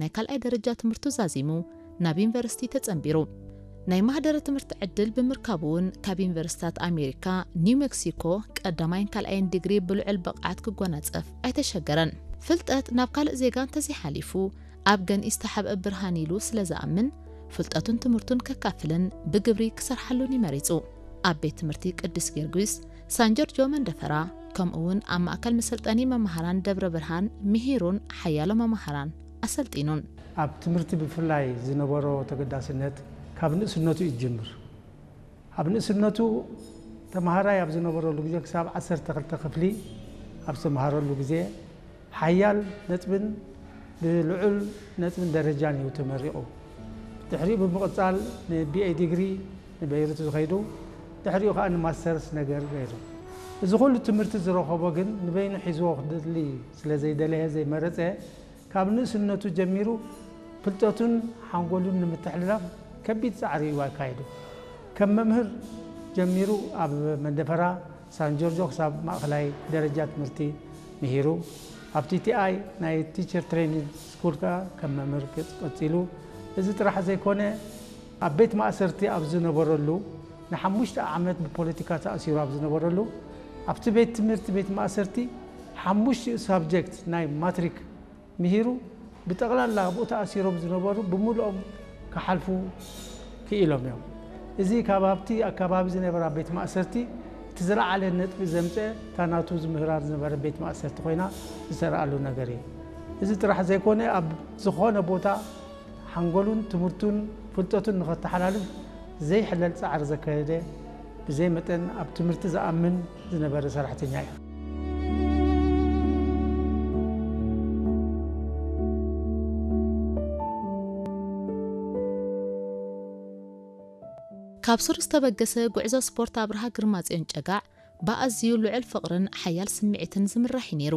ናይ ካልኣይ ደረጃ ትምህርቱ ዛዚሙ ናብ ዩኒቨርሲቲ ተጸንቢሩ። ናይ ማህደረ ትምህርቲ ዕድል ብምርካቡ እውን ካብ ዩኒቨርሲታት ኣሜሪካ ኒው ሜክሲኮ ቀዳማይን ካልኣይን ዲግሪ ብልዑል ብቕዓት ክጎናጸፍ ኣይተሸገረን። ፍልጠት ናብ ካልእ ዜጋ እንተዘይሓሊፉ ኣብ ገንኢ ዝተሓብአ ብርሃን ኢሉ ስለ ዝኣምን ፍልጠቱን ትምህርቱን ከካፍልን ብግብሪ ክሰርሓሉን እዩ መሪጹ። ኣብ ቤት ትምህርቲ ቅዱስ ጊዮርጊስ ሳን ጆርጆ መንደፈራ ከምኡ እውን ኣብ ማእከል መሰልጠኒ መማህራን ደብረ ብርሃን ምሂሩን ሓያሎ መማህራን ኣሰልጢኑን። ኣብ ትምህርቲ ብፍላይ ዝነበሮ ተገዳስነት ካብ ንእስነቱ እዩ ዝጅምር። ኣብ ንእስነቱ ተምሃራይ ኣብ ዝነበረሉ ግዜ ክሳብ ዓሰርተ ክልተ ክፍሊ ኣብ ዝተምሃረሉ ግዜ ሓያል ነጥብን ብልዑል ነጥብን ደረጃን እዩ ተመሪቑ። ድሕሪኡ ብምቕጻል ንቢኤ ዲግሪ ንበይሩት ዝኸይዱ፣ ድሕሪኡ ከኣ ንማስተርስ ነገር ገይሩ። እዚ ኩሉ ትምህርቲ ዝረኸቦ ግን ንበይኑ ሒዝዎ ክደሊ ስለ ዘይደለየ ዘይመረጸ፣ ካብ ንእስነቱ ጀሚሩ ፍልጠቱን ሓንጎሉን ንምትሕልላፍ ከቢድ ጻዕሪ እዩ ኣካይዱ። ከም መምህር ጀሚሩ ኣብ መንደፈራ ሳን ጆርጆ ክሳብ ማእኸላይ ደረጃ ትምህርቲ ምሂሩ። ኣብ ቲቲኣይ ናይ ቲቸር ትሬኒንግ ስኩል ከኣ ከም መምህር ገጽ ቀጺሉ። እዚ ጥራሕ ዘይኮነ፣ ኣብ ቤት ማእሰርቲ ኣብ ዝነበረሉ፣ ንሓሙሽተ ዓመት ብፖለቲካ ተኣሲሩ ኣብ ዝነበረሉ፣ ኣብቲ ቤት ትምህርቲ ቤት ማእሰርቲ ሓሙሽቲኡ ሳብጀክት ናይ ማትሪክ ምሂሩ፣ ብጠቕላላ ኣብኡ ተኣሲሮም ዝነበሩ ብምሉኦም ክሓልፉ ክኢሎም እዮም። እዚ ካብ ኣብቲ ኣከባቢ ዝነበራ ቤት ማእሰርቲ እቲ ዝለዓለ ነጥቢ ዘምፀ፣ እታ ናቱ ዝምህራ ዝነበረ ቤት ማእሰርቲ ኮይና ዝተረኣሉ ነገር እዩ። እዚ ጥራሕ ዘይኮነ፣ ኣብ ዝኾነ ቦታ ሓንጎሉን ትምህርቱን ፍልጠቱን ንኸተሓላልፍ ዘይሕለል ጻዕሪ ዘካየደ፣ ብዘይ መጠን ኣብ ትምህርቲ ዝኣምን ዝነበረ ሰራሕተኛ እዩ። ካብ ሱር ዝተበገሰ ጉዕዞ ስፖርት ኣብርሃ ግርማጽዮን ጨጋዕ ብኣዝዩ ልዑል ፍቕርን ሓያል ስምዒትን ዝምራሕ እዩ ነይሩ።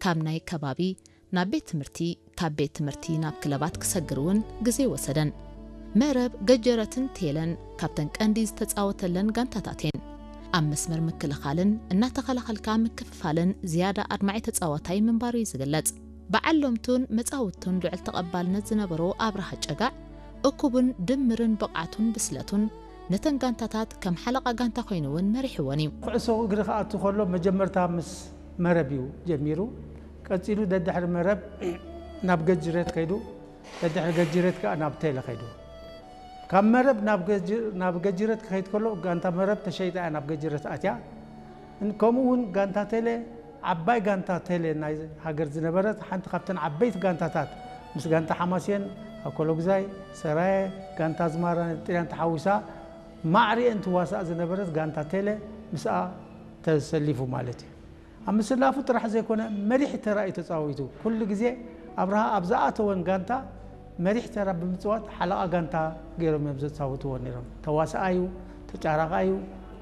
ካብ ናይ ከባቢ ናብ ቤት ትምህርቲ፣ ካብ ቤት ትምህርቲ ናብ ክለባት ክሰግር እውን ግዜ ወሰደን። መረብ፣ ገጀረትን ቴለን ካብተን ቀንዲ ዝተጻወተለን ጋንታታት እየን። ኣብ መስመር ምክልኻልን እናተኸላኸልካ ምክፍፋልን ዝያዳ ኣድማዒ ተጻዋታይ ምንባሩ እዩ ዝግለጽ። በዓል ሎምቱን መጻውቱን ልዑል ተቐባልነት ዝነበሮ ኣብርሃ ጨጋዕ፣ እኩብን ድምርን ብቕዓቱን ብስለቱን ነተን ጋንታታት ከም ሓለቓ ጋንታ ኮይኑ እውን መሪሕወን እዩ። ኩዕሶ እግሪ ክኣቱ ከሎ መጀመርታ ምስ መረብ እዩ ጀሚሩ። ቀጺሉ ደድሕሪ መረብ ናብ ገጅሬት ከይዱ፣ ደድሕሪ ገጅሬት ከኣ ናብ ቴለ ከይዱ። ካብ መረብ ናብ ገጅ-፣ ናብ ገጅሬት ክኸይድ ከሎ ጋንታ መረብ ተሸይጣ እያ ናብ ገጅሬት ኣትያ። እን-፣ ከምኡ እውን ጋንታ ቴለ፣ ዓባይ ጋንታ ቴለ ናይ ሃገር ዝነበረት፣ ሓንቲ ካብተን ዓበይቲ ጋንታታት፣ ምስ ጋንታ ሓማሴን፣ ኣኮሎጉዛይ፣ ሰራየ፣ ጋንታ ኣዝማራ፣ ጥልያን ተሓዊሳ ማዕሪኤን ትዋሳእ ዝነበረት ጋንታ ቴለ ምስኣ ተሰሊፉ ማለት እዩ። ኣብ ምስላፉ ጥራሕ ዘይኮነ፣ መሪሕ ተራ እዩ ተጻዊቱ። ኩሉ ግዜ ኣብርሃ ኣብ ዝኣተወን ጋንታ መሪሕ ተራ ብምጽዋት ሓለቓ ጋንታ ገይሮም እዮም ዘጻውትዎ ነይሮም። ተዋሳኣዩ፣ ተጫራቓዩ፣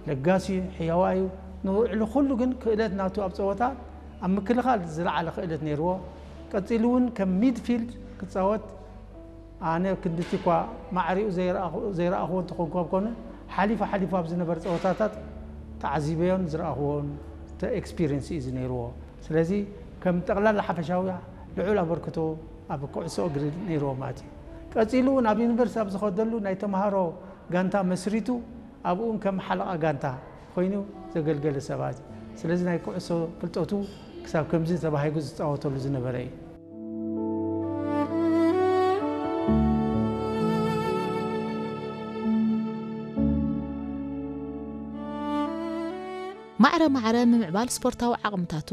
ለጋሲዩ፣ ሕያዋዩ፣ ንውዕሉ ኩሉ ግን ክእለት ናቱ ኣብ ጸወታ ኣብ ምክልኻል ዝለዓለ ክእለት ነይርዎ። ቀጺሉ እውን ከም ሚድፊልድ ክጻወት ኣነ ክንድቲ እኳ ማዕሪኡ ዘይረኣኹ-፣ ዘይረኣኹዎ እንተኾንኩ ኣብ ኮነ፣ ሓሊፉ ሓሊፉ ኣብ ዝነበረ ጸወታታት ተዓዚበዮን ዝረኣኹዎን ተ-፣ ኤክስፒሪየንስ እዩ ነይርዎ። ስለዚ ከም ጠቕላላ ሓፈሻዊ ልዑል ኣበርክቶ ኣብ ኩዕሶ እግሪ ነይርዎ ማለት እዩ። ቀጺሉ እውን ኣብ ዩኒቨርሲቲ ኣብ ዝኸደሉ ናይ ተምሃሮ ጋንታ መስሪቱ ኣብኡን ከም ሓለቓ ጋንታ ኮይኑ ዘገልገለ ሰባት እዩ። ስለዚ ናይ ኩዕሶ ፍልጠቱ ክሳብ ከምዚ ተባሂጉ ዝጻወተሉ ዝነበረ እዩ። ማዕረ ማዕረ ምምዕባል ስፖርታዊ ዓቕምታቱ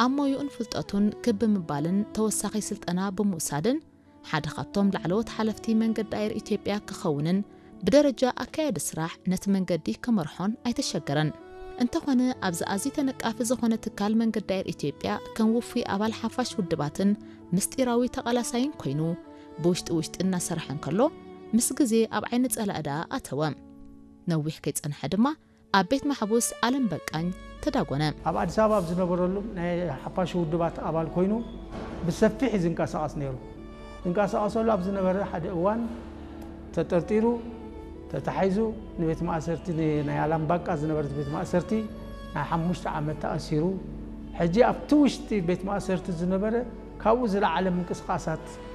ኣብ ሞይኡን ፍልጠቱን ክብ ብምባልን ተወሳኺ ስልጠና ብምውሳድን ሓደ ካብቶም ላዕለዎት ሓለፍቲ መንገዲ ኣየር ኢትዮጵያ ክኸውንን ብደረጃ ኣካያዲ ስራሕ ነቲ መንገዲ ክመርሖን ኣይተሸገረን። እንተኾነ ኣብዚ ኣዝዩ ተነቃፊ ዝኾነ ትካል መንገዲ ኣየር ኢትዮጵያ ከም ውፉይ ኣባል ሓፋሽ ውድባትን ምስጢራዊ ተቓላሳይን ኮይኑ ብውሽጢ ውሽጢ እናሰርሐ እንከሎ ምስ ግዜ ኣብ ዓይኒ ጸላኢ ደኣ ኣተወ። ነዊሕ ከይጸንሐ ድማ ኣብ ቤት ማሕቡስ ዓለም በቃኝ ተዳጎነ። ኣብ ኣዲስ ኣበባ ኣብ ዝነበረሉ ናይ ሓፋሽ ውድባት ኣባል ኮይኑ ብሰፊሕ እዩ ዝንቀሳቐስ ነይሩ። ዝንቀሳቐሰሉ ኣብ ዝነበረ ሓደ እዋን ተጠርጢሩ፣ ተታሒዙ ንቤት ማእሰርቲ፣ ን-፣ ናይ ኣላምባቃ ዝነበረት ቤት ማእሰርቲ ናይ ሓሙሽተ ዓመት ተኣሲሩ። ሕጂ ኣብቲ ውሽጢ ቤት ማእሰርቲ ዝነበረ ካብኡ ዝለዓለ ምንቅስቓሳት